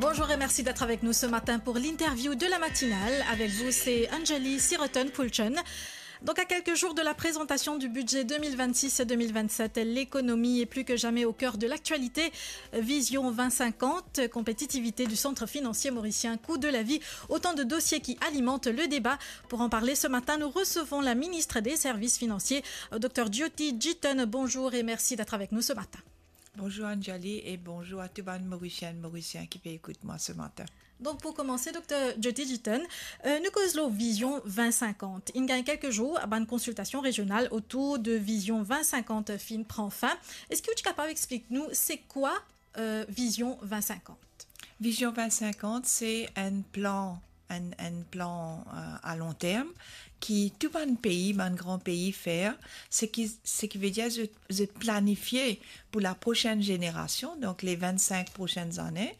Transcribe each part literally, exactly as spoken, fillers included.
Bonjour et merci d'être avec nous ce matin pour l'interview de la matinale. Avec vous, c'est Anjali Siroton Pulchen. Donc, à quelques jours de la présentation du budget deux mille vingt-six deux mille vingt-sept, l'économie est plus que jamais au cœur de l'actualité. Vision vingt cinquante, compétitivité du centre financier mauricien, coût de la vie, autant de dossiers qui alimentent le débat. Pour en parler ce matin, nous recevons la ministre des Services financiers, Dr Jyoti Jiten. Bonjour et merci d'être avec nous ce matin. Bonjour Anjali e bonzour a tou bann Morisien, Morisien ki pe ekout mwa se matin. Donk pou komanse, Dr Jyoti Jiten, euh, nou koz lor Vision vingt cinquante. Inn gagn kelke zour, bann konsiltasion rezional otour de Vision vingt cinquante finn pran fin. Eski ou ti kapav explik nou se kwa, euh, Vision vingt cinquante? Vision vingt cinquante, se enn plan, enn, enn plan, euh, a long term ki tou bann pei, bann gran pei fer, se ki, se ki ve dir zot, zot planifie pou la prosenn zenerasion, donk le vingt cinq prosenn zane,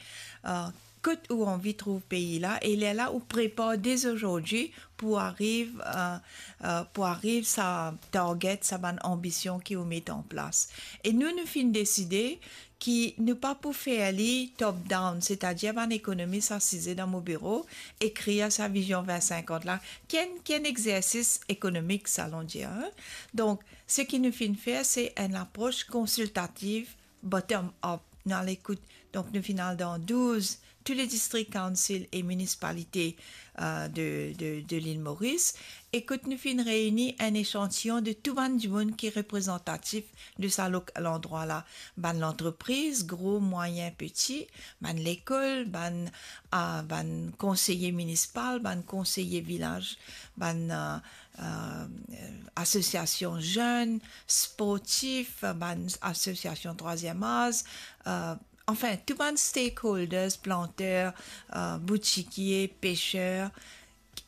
euh, kot ou anvi trouv pei la, e lerla ou prepar dezordi pou ariv, euh, euh, pou ariv sa target, sa bann anbision ki ou met an plas. E nou, nou finn deside ki nou pa pou fer li top down, setadir bann ekonomis asize dan mo biro, ekrir sa Vision vingt cinquante la, ki enn, ki enn exersis ekonomik, sa nou dir, hein. Donk, seki nou finn fer, se enn apros konsiltativ, bottom up. Nou al ekout, donk nou finn al dan douz, tou le distrik council e minisipalite, euh, de, de, de lil Moris, e kot nou finn reini enn echantiyon de tou bann dimoun ki reprezantatif de sa lok-, landrwa la. Bann lantrepriz, gro, mwayin, peti, bann lekol, bann, ah, bann konseye minisipal, bann konseye vilaz, bann, euh, euh, asosiasion zenn, sportif, bann asosiasion trwaziem az, euh, anfin, tou bann stakeholders, planter, euh, boutikie, peser,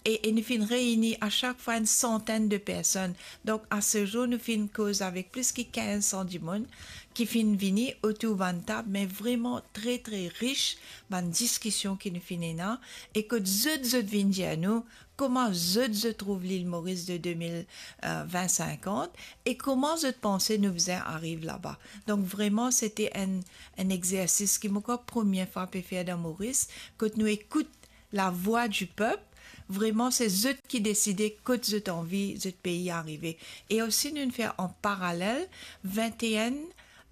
e, e nou finn reini a sak fwa enn santenn de personn. Donk, a se zour, nou finn koz avek plis ki kinz san dimoun ki finn vini otour bann tab, me vreman tre, tre ris bann diskision ki nou finn ena, e kot zot, zot vinn dir nou kouma zot, zot trouv lil Moris de de mil, euh, vingt cinquante, e kouma zot panse nou bizin ariv laba. Donk, vreman, sete enn, enn exersis ki mo krwar premie fwa pe fer dan Moris, kot nou ekout lavwa di pep, vreman se zot ki deside kot zot anvi zot pei arive. E osi nou fer an paralel vinteen,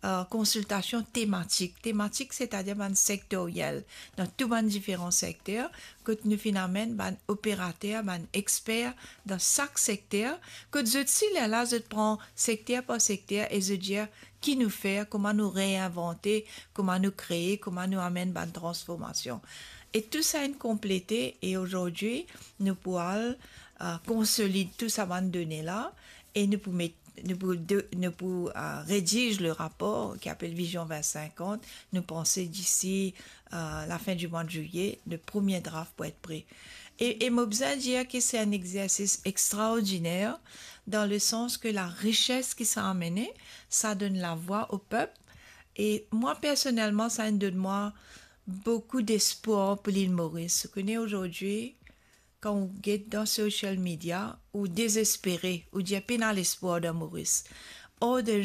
euh, konsiltasion tematik. Tematik, setadir bann sektoriel, dan tou bann diferan sekter, kot nou finn amenn bann operater, bann exper dan sak sekter, kot zot si lerla zot pran sekter par sekter e zot dir ki nou fer, kouma nou reinvante, kouma nou kree, kouma nou amenn bann transformasion. E tou sa inn konplete, e azordi, nou pou al, euh, konsolid tou sa bann done la, e nou pou met, nou pou de-, nou pou, euh, rediz le rapor ki apel Vision vingt cinquante. Nou panse disi, euh, lafin di mwa de zilie, le premie draft pou et pre. E, e mo bizin dir ki se enn exersis extraordiner, dan le sans ke la rises ki sa amene, sa donn lavwa o pep. E mwa, personelman, sa inn donn mwa boukou despwar pou lil Moris. Ou kone, azordi, kan ou get dan social media, ou dezespere, ou dir pena lespwar dan Moris. Or, de